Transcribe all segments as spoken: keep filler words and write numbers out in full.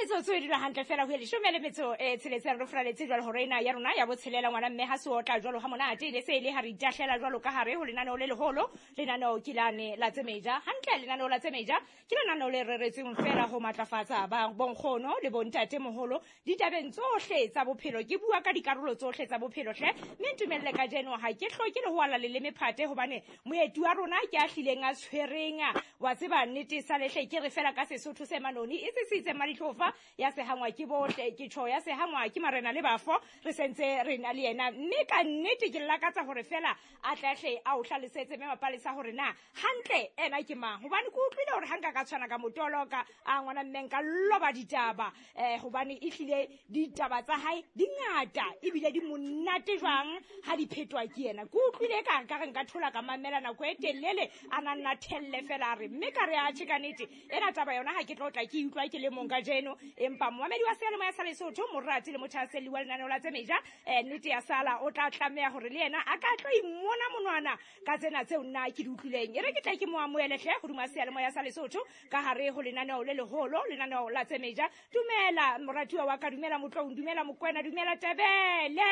Metsotso e dula hantle fela ho ye leshome le metso e tsheletseng, re furaletse jwalo hore ena ya rona ya botshelela ngwana mme ha se otla jwalo ha monate le se e le ha re itahlela jwalo ka hare ho lenaneo le leholo. Lenaneo ke lane la Tsemeja. Hantle lenaneo la Tsemeja ke lenaneo le reretsweng fela ho matlafatsa ba bonkgono le bontate moholo ditabeng tsohle tsa bophelo. Ke bua ka dikarolo tsohle tsa bophelo hle, mme ntumelle kajeno ha ke hloke le ho ala leleme phate hobane moeti wa rona ke a hlileng a tshwereng wa tseba nnete sa lehle. Ke re fela ka Sesotho se manoni e sisitse Maditlofa ya sehangwa ke bohle, ke tjho ya sehangwa ke marena le bafo. Re sentse re na le yena mme ka nnete ke lakatsa hore fela a tlahle a o hlalosetse mme Mapalesa hore na hantle ena ke mang, hobane ke utlwile hore ha nka ka tshwana ka motoloka a ngwana mme nka loba ditaba eh hobane e hlile ditaba tsa hae di ngata ebile di monate jwang ha di phetwa ke yena. Ke utlwile ka ka re nka thola ka mamela nako e telele a na nna thelle fela a re mme ka re atjhe ka nnete ena taba yona ha ke tlo tla ke utlwa ke le mong kajeno. Empa momamedi wa seyalemoya sa Lesotho, morati le mothahaselli wa lenaneo la Tsemeja, eh nnete ya sala o tla tlameha hore le yena a ka tlo imona monwana ka tsena tseo nna ke di utlwileng. E re ke tla ke mo amohele hle hodima seyalemoya sa Lesotho ka hare ho lenaneo le leholo, lenaneo la Tsemeja. Dumela moratuwa wa ka, dumela Motloung, dumela Mokwena, dumela Tebele.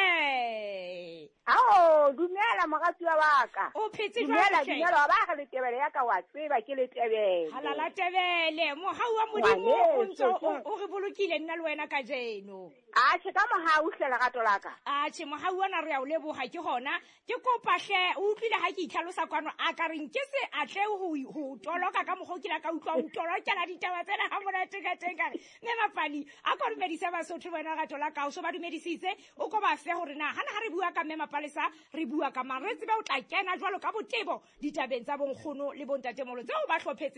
Ao, dumela moratuwa wa ka. O phetse jwang Dumela, hle? dumela, wa ba re letebele ya ka wa tseba ke letebele. Halala Tebele, mohau wa Modimo o ntso Ngwaneso, o o re bolokile nna le wena kajeno. Atjhe, ka mohau hle lerato la ka. Atjhe, mohau ona re a o leboha ke hona. Ke kopa hle, o utlwile ha ke itlhalosa kwano, a ka reng ke se atle ho ho toloka ka mokgwa o kile ka utlwa o tolokela ditaba tsena ha monate ka teng ka re. Mme Mapali, a ko dumedise Basotho wena lerato la ka, o so ba dumedisitse, o ko ba fe hore na hana ha re bua ka mme Mapalesa, re bua ka mang, re tsebe o tla kena jwalo ka botebo ditabeng tsa bonkgono le bontatemoholo tseo ba hlophetseng.